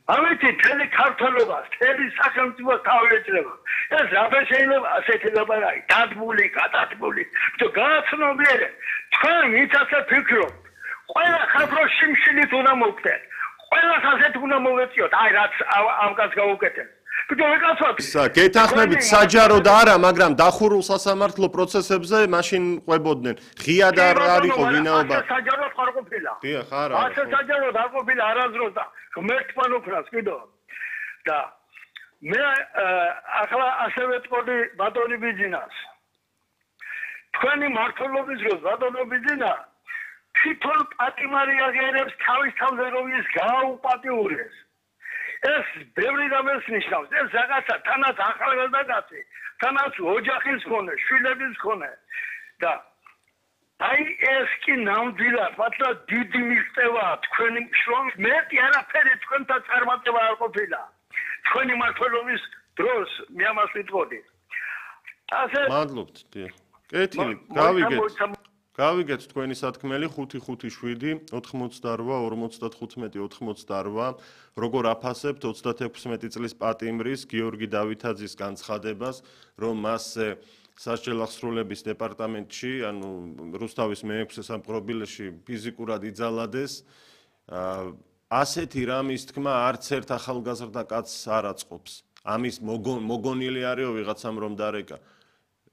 ამიტომ თელი ქართველობას, თელი სახელმწიფოს თავი ეჭრება. ეს რაბე შეიძლება ასეთი ლაპარაკი, დადგმული, გადადგმული. თუ გააცნობიერე, თქვენ ვინც ასე ფიქრობთ, ყველა ხალხო შიმშილით უნდა მოვხდეთ. ყველას ასეთ უნდა მოვეწიოთ, აი რაც ამ კაცს გაუკეთეთ. გეთანხმებით საჯაროდ არა, მაგრამ დახურულ სასამართლო პროცესებზე მაშინ ყვებოდნენ. ღია და არ იყო ვინაობა. საჯაროდ ხარ ყოფილა. დიახ, არა. ასე საჯაროდ არ ყოფილა არასდროს და ღმერთთან უკრას კიდო. და მე ახლა ასევე ტყოდი ბატონი ბიძინას. თქვენი მართლობის დროს ბატონო ბიძინა თვითონ პატიმარი აღიარებს თავის თავზე რომ ის გააუპატიურეს. ეს ბევრი რამეს ნიშნავს. ეს რაღაცა თანაც ახალგაზრდაკაცი, თანაც ოჯახის მქონე, შვილების მქონე და აი ეს კი ნამდვილად მართლა დიდი მიღწევაა თქვენი შრომის. მეტი არაფერი თქვენთან წარმატება არ ყოფილა. თქვენი მმართველობის დროს მე ამას ვიტყოდი. ასე მადლობთ, დიახ. კეთილი, გავიგეთ თქვენი სათქმელი 557 88 55 88 როგორ აფასებთ 36 წლის პატიმრის გიორგი დავითაძის განცხადებას, რომ მასზე სასჯელ აღსრულების დეპარტამენტში, ანუ რუსთავის მე-6 სამყრობილეში ფიზიკურად იძალადეს. ასეთი რამის თქმა არც ერთ ახალგაზრდა კაცს არ აწყობს. ამის მოგონილი არისო ვიღაცამ რომ დარეკა.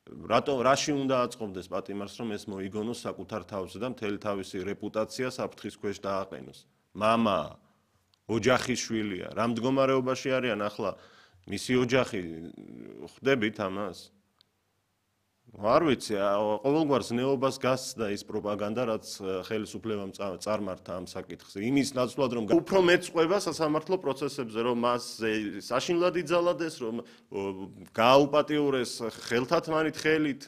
რაში უნდა აწყობდეს პატიმარს, რომ ეს მოიგონოს საკუთარ თავზე და მთელი თავისი რეპუტაცია საფრთხის ქვეშ დააყენოს. მამა, ოჯახის შვილია, რა მდგომარეობაში არიან ახლა მისი ოჯახი, ხვდებით ამას? არ ვიცი, ყოველგვარ ზნეობას გასცდა ის პროპაგანდა, რაც ხელისუფლებამ წარმართა ამ საკითხზე. იმის ნაცვლად, რომ უფრო მეწყვება სასამართლო პროცესებზე, რომ მას საშინლად იძალადეს, რომ გააუპატიურეს ხელთათმანით ხელით.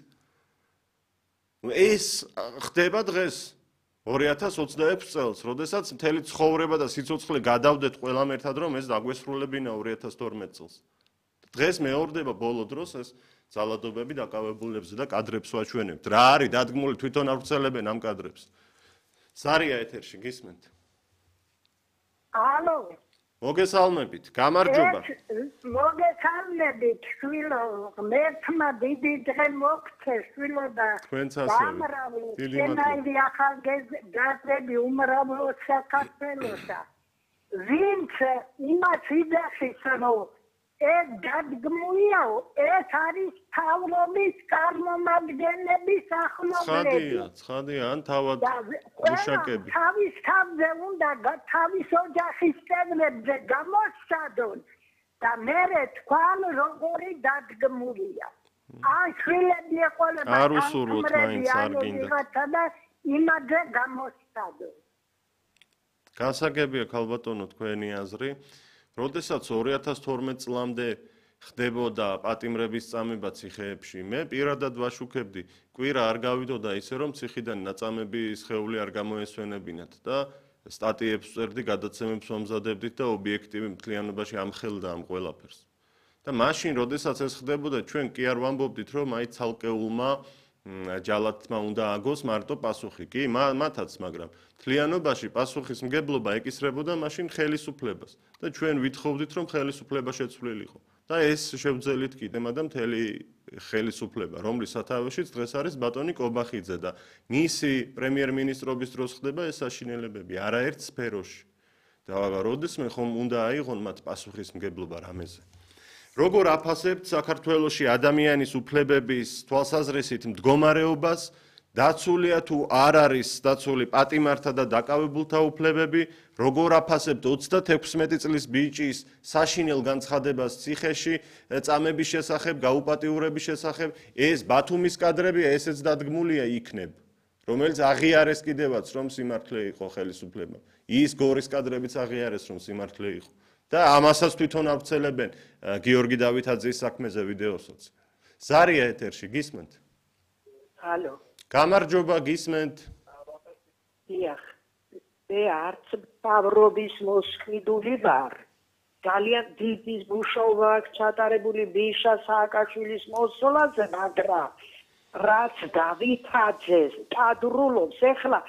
ეს ხდება დღეს 2026 წელს, როდესაც მთელი ცხოვრება და სიცოცხლე გადავდეთ ყველამ ერთად, რომ ეს დაგვესრულებინა 2012 წელს. დღეს მეორდება ბოლო დროს ეს ძალადობები დაკავებულებზე და კადრებს ვაჩვენებთ. რა არის დადგმული თვითონ ავრცელებენ ამ კადრებს. სარია ეთერში გისმენთ? ალო. მოგესალმებით, გამარჯობა. მოგესალმებით, შვილო, ღმერთმა დიდი დღე მოგცე, შვილო და გამრავალი შენაირი ახალგაზრდები უმრავლო საქართველოსა. ვინც იმას იძახის, რომ ეს დადგმულია, ეს არის თავრობის წარმომადგენლების ახლობლები. ცხადია, ან თავად მუშაკები. თავის თავზე უნდა თავის ოჯახის წევრებზე გამოსცადონ და მერე თქვან როგორი დადგმულია. ან შვილები ეყოლება არ უსურვოთ მაინც არ გინდა. და იმაზე გამოსცადონ. გასაგებია ქალბატონო თქვენი აზრი. როდესაც 2012 წლამდე ხდებოდა პატიმრების წამება ციხეებში, მე პირადად ვაშუქებდი, კვირა არ გავიდოდა ისე რომ ციხიდან ნაწამები სხეული არ გამოესვენებინათ და სტატიებს წერდი, გადაცემებს ვამზადებდით და ობიექტივი მთლიანობაში ამხელდა ამ ყველაფერს. და მაშინ, როდესაც ეს ხდებოდა, ჩვენ კი არ ვამბობდით, რომ აი ცალკეულმა ჯალათმა უნდა აგოს მარტო პასუხი. კი, მათაც, მაგრამ მთლიანობაში პასუხისმგებლობა ეკისრებოდა მაშინ ხელისუფლებას და ჩვენ ვითხოვდით, რომ ხელისუფლება შეცვლილიყო. და ეს შევძელით კიდემ და მთელი ხელისუფლება, რომლის სათავეშიც დღეს არის ბატონი კობახიძე და მისი პრემიერ-მინისტრობის დროს ხდება ეს საშინელებები არაერთ სფეროში. და როდესმე ხომ უნდა აიღონ მათ პასუხისმგებლობა რამეზე. როგორ აფასებთ საქართველოში ადამიანის უფლებების თვალსაზრისით მდგომარეობას, დაცულია თუ არ არის დაცული პატიმართა და დაკავებულთა უფლებები, როგორ აფასებთ 36 წლის ბიჭის საშინელ განცხადებას ციხეში, წამების შესახებ, გაუპატიურების შესახებ, ეს ბათუმის კადრებია, ესეც დადგმულია იქნებ, რომელიც აღიარეს კიდევაც, რომ სიმართლე იყო ხელისუფლება. ის გორის კადრებიც აღიარეს, რომ სიმართლე იყო. და ამასაც თვითონ ავრცელებენ გიორგი დავითაძის საქმეზე ვიდეოსაც. ზარია ეთერში გისმენთ? ალო. გამარჯობა, გისმენთ? დიახ. მე არც თავრობის მოსყიდული ვარ. ძალიან დიდი მუშაობა აქვს ჩატარებული ბიშა სააკაშვილის მოსვლაზე, მაგრამ რაც დავითაძეს კადრულობს, ეხლა